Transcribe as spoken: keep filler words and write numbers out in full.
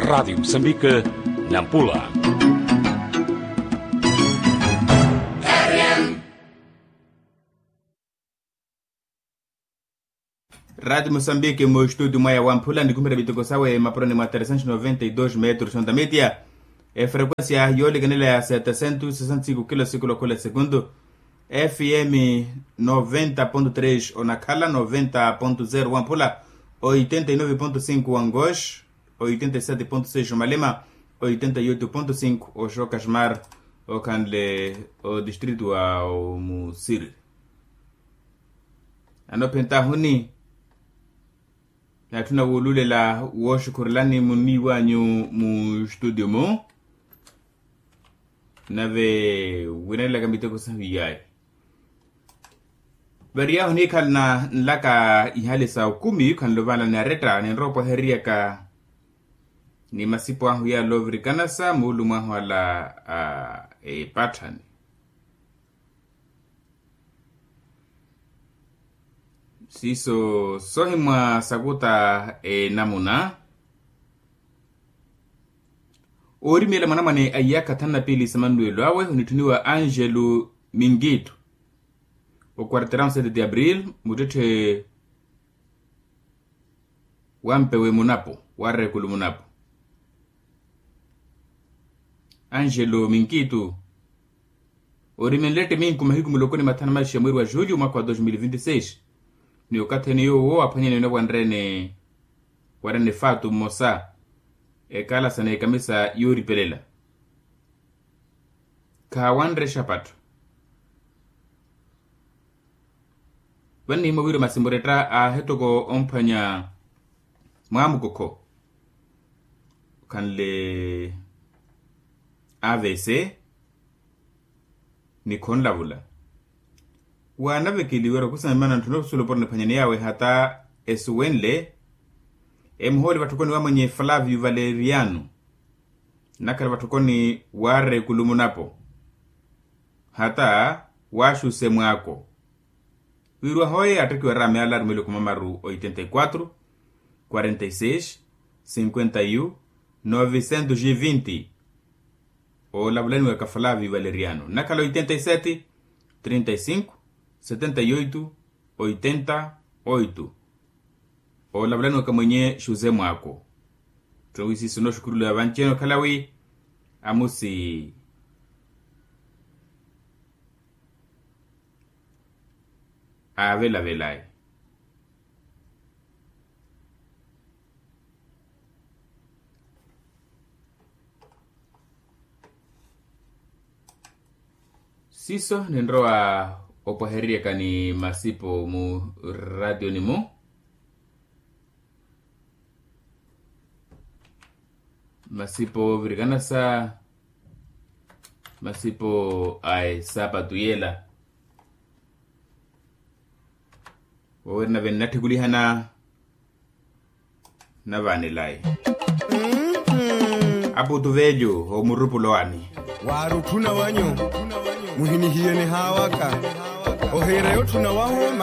Radiyo musambike, nampula. Radiyo musambike mu estudio mwaya wamphula nikumpira miteko sawe mapuroni mwa tresentos noventa e dos metros ondamitya. Efrequencia yoolikanela ya setesentos sesenta cinco kilo sikulu okhula sekundu. Fm noventa ponto tres onakhala noventa ponto zero wamphula, oitenta e nove ponto cinco wangosh, oitenta e sete ponto seis omalema, oitenta e oito ponto cinco oxokasmar, okhanle odistrito wa omusiri. Anophentahuni, natthuna wuululela wooxukhurelani muniiwanyu mu studio mu. Nave winelelaka miteko sahu iyaayi. Variyaahu niikhalana nlaka ihali sa okumi khanluvanla ni aretta ninrowa opwaheriyaka ni masipo ahu yala ovirikanasa muulumwahu ala a epatthani. Siiso sohimwa sakuta enamuna. Oorimela mwanamwane a iyakha thanu na piili sa mannuwelo awe onitthuniwa angelo minkitu, o quarteirão sete de abril muttetthe wa mpewe munapo wa rekulu munapo. Angelo minkitu, orimenle ette minku mahiku muloko ni mathanu maixi ya mweri wa julho mwaka wa dos mil vinti seis. Ni okathi ene yoowo aphwanyaniwe nawanrene warene faatu mmosa ekala sa n'ekamisa yooripelela. Khaawanre exapattho. Vannihimmwa wira masimuretta aahetoko omphwanya mwaamukokho khanle avc ni khonlavula. Waanavekeliwera okusa mimana ntthuna osusulo poroni phwanyani yawe hata esuwenle emuhooli vatthokoni wa mwenye flavio valeriano nnakhala vatthokoni wa rekulu munapo hata wa xusemwaako. Wiiriwa hoye attekiwa araame ala arumeliwe khumamaru oitenta e quatro quarenta e seis cinquenta e um novecentos e vinti. Oolavulaniwaka flavio valeriano nnakhala oitenta e sete trinta e cinco setenta e oito oitenta oito. Oolavulaniwaka mwenye xuze mwaako. Ttowi siiso nooxukhurula vanci-ene okhala wi amusi aavelavelaya. Siiso ninrowa opwahereriyaka ni masipo mu ratiyoni mu masipo virikanasa masipo a esapatu yela. Wowerina vene nattikulihana navaanelayi. Aputu velyu omurupulo wani. Waari otthuna wanyu muhinihiyene haawaka ohiira yotthuna wahu.